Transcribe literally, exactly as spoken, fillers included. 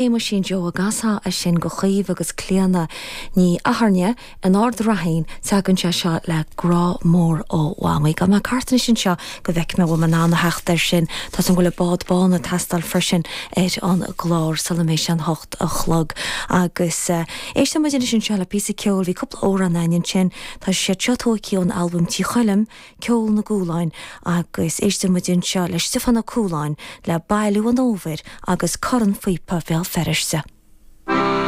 Shéamuisín Joe an gcasfá é sin do Chaoimhe agus Clíona Ní Athairne in Ard Raithin tagann sé seo le grá mór ó Mhamaí. Gabhfaidh mé thart anois anseo go bhfeicfidh mé bhfuil mé in ann a theacht air sin Tá an bhfuil bád bán ag teastáil freisin ar an gclár sula mbeidh sé an hocht a chlog agus uh, éistfidh muid anois anseo le píosa ceoil bhí cúpla amhrán ansin Tá sé seo tógtha ón albam Tí Choilm ceol na gCualáin agus éistfidh muid anseo le Stiofán Ó Cualáin le bailiú an fhómhair agus Corn Phíopa Bhéal Feirste.